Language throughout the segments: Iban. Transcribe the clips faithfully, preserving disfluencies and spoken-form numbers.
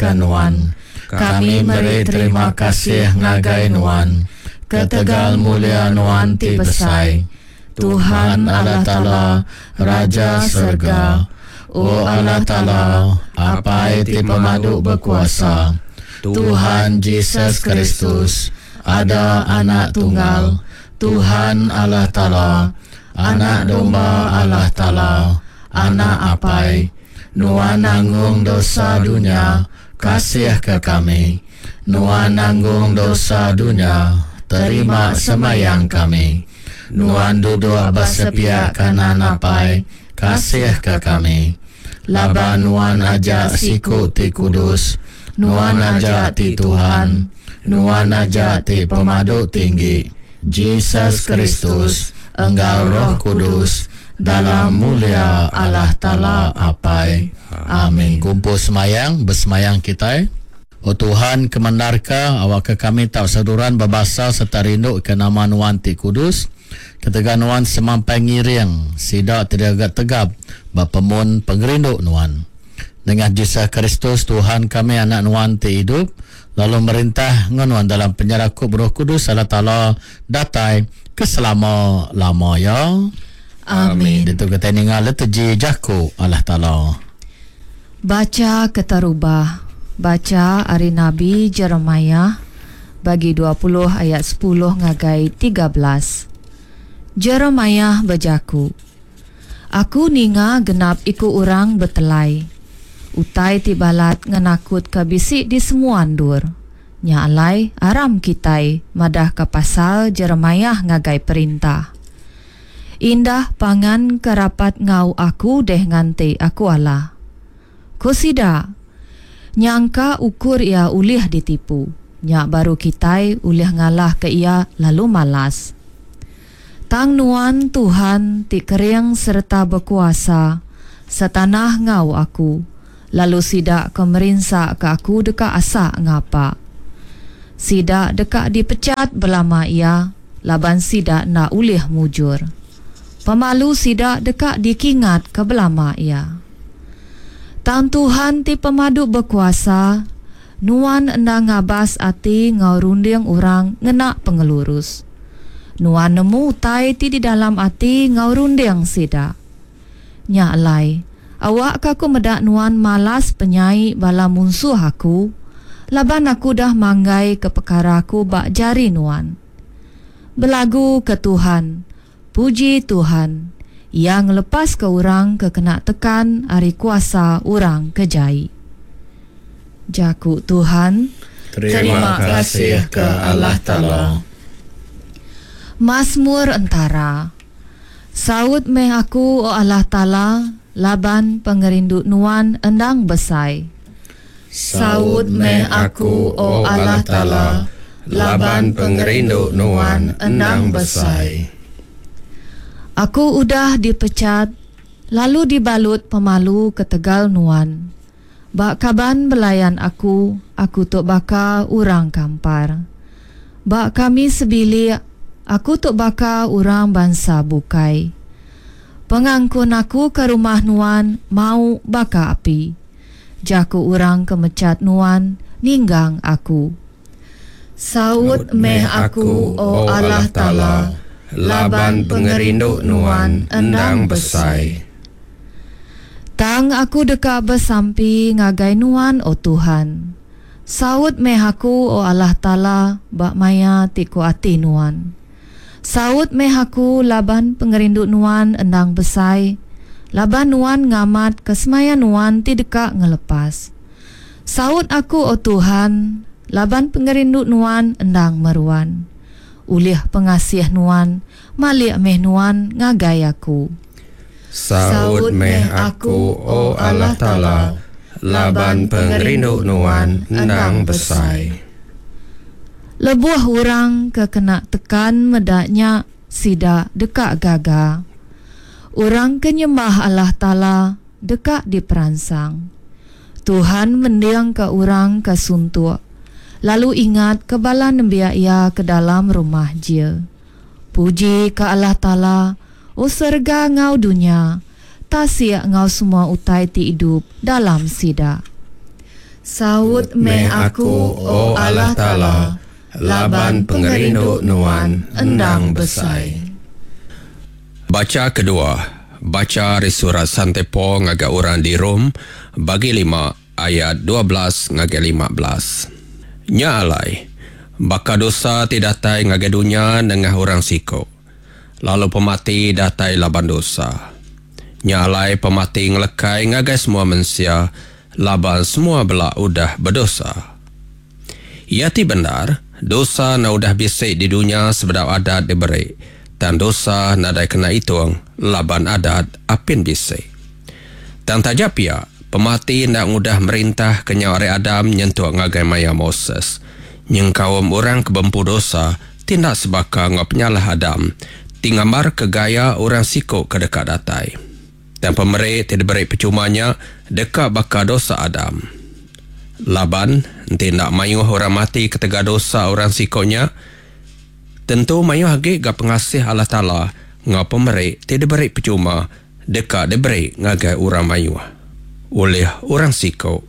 ke Nuan. Kami meri terima kasih ngagai Nuan, ketegal mulia Nuan ti besai. Tuhan Allah Taala, Raja serega, O Allah Taala, Apai ti pemadu bekuasa, Tuhan Jesus Kristus, ada Anak Tunggal, Tuhan Allah Taala, Anak Domba Allah Taala, Anak Apai, Nuan nanggung dosa dunya, kasihka kami. Nuan nanggung dosa dunya, terima semayang kami. Nuan duduk ba sepiak kanan Apai, kasihka kami. Laban Nuan aja siku ti kudus, Nuan aja ti Tuhan, Nuan aja ti pemadu tinggi, Jesus Kristus, enggau Roh Kudus, dalam mulia Allah Taala Apai. Amin. Kumpul semayang, besemayang kitai. O Tuhan, kemendarka awakka kami tau seruran bebasa sereta rindu ke nama Nuan ti kudus, ketegal Nuan semampai ngiring sida ti digaga tegap ba pemun pengerindu Nuan. Nengah Jesus Kristus Tuhan kami Anak Nuan ti idup lalu merintah enggau Nuan dalam penyerakup Roh Kudus Allah Taala datai ke selama-lama ya. Amin. Ditu kitai ninga liturgi jaku Allah Taala. Bacha keterubah. Bacha ari Nabi Jeremiah bagi dua puluh ayat sepuluh ngagai tiga belas. Jeremiah bejaku, Aku ninga genap iku orang betelai. Utai ti balat ngenakutka bisi di semua endur. Nya alai aram kitai madahka pasal Jeremiah ngagai perintah. Indah pangan ke rapat enggau aku deh nganti aku alah. Ku sida, Nyangka ukur iya ulih ditipu, nya baru kitai ulih ngalahka iya lalu malas. Tang Nuan, Tuhan, ti kering sereta bekuasa, setanah enggau aku, lalu sida ke merinsaka aku deka asa ngapa. Sida deka dipechat belama iya, laban sida enda ulih mujur. Pemalu sida deka dikingatka belama iya. Tang Tuhan ti Pemadu Bekuasa, Nuan enda ngabas ati enggau runding orang ngena pengelurus. Nuan nemu utai ti di dalam ati enggau runding sida. Nya alai, awakka aku meda Nuan malas penyai bala munsuh aku, laban aku udah manggaika pekara aku ba jari Nuan. Belagu ke Tuhan, puji Tuhan, Iya ngelepaska orang ke kena tekan ari kuasa orang ke jai. Jaku Tuhan. Terima kasih ke Allah Taala. Masmur entara. Saut meh aku, O Allah Taala, laban pengerindu Nuan endang besai. Saut meh aku, O Allah Taala, laban pengerindu Nuan endang besai. Aku udah dipechat lalu dibalut pemalu ketegal Nuan. Ba kaban belayan aku, aku tu baka orang kampar. Ba kami sebilik, aku tu baka orang bansa bukai. Pengangkun aku ke rumah Nuan mau baka api. Jaku orang ke mechat Nuan ninggang aku. Saut meh aku, O Allah Taala, laban pengerindu Nuan endang besai. Tang aku deka besampi ngagai Nuan, O Tuhan. Saut meh aku, O Allah Taala, ba maya ti ku ati Nuan. Saut meh aku laban pengerindu Nuan endang besai, laban Nuan ngamatka semaya Nuan ti deka ngelepas. Saut aku, O Tuhan, laban pengerindu Nuan endang meruan. Ulih pengasih Nuan, malik meh Nuan ngagai aku. Saut meh aku, O Allah Taala, laban pengerindu Nuan endang besai. Lebuh orang ke kena tekan meda nya, sida deka gaga. Orang ke nyembah Allah Taala deka diperansang. Tuhan mendingka orang ke suntuk, lalu ingatka bala nembiak Iya ke dalam rumah jil. Puji ke Allah Taala, O serega enggau dunya, tasik enggau semua utai ti idup dalam sida. Saut meh aku, O Allah Taala, laban pengerindu Nuan endang besai. Bacha kedua, bacha ari surat Sante Paul ngagai orang di Rome, bagi lima ayat dua belas ngagai lima belas. Nya alai, baka dosa ti datai ngagai dunya nengah orang siko, lalu pemati datai laban dosa. Nya alai pemati ngelekai ngagai semua mensia, laban semua bela udah bedosa. Ia ti bendar, dosa na udah bisi di dunya sebedau adat diberi, tang dosa nadai kena hitung laban adat apin bisi. Tang taja pia, pemati ndak ngudah merintah kenyau ari Adam nyentuk ngagai maya Moses. Nyengkaum orang ke bempu dosa tindak sebaka ngau penyalah Adam, ti ngambar ke gaya orang siko ke deka datai. Dan pemeri ti diberi percumanya deka baka dosa Adam. Laban enti ndak mayuh orang mati ketegal dosa orang sikonya, tentu mayuh agi ga pengasih Allah Taala ngau pemeri ti diberi percuma deka diberi ngagai orang mayuh oleh orang siko,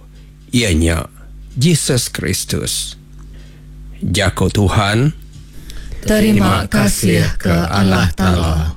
ianya Jesus Kristus. Jako Tuhan. Terima kasih ke Allah Taala.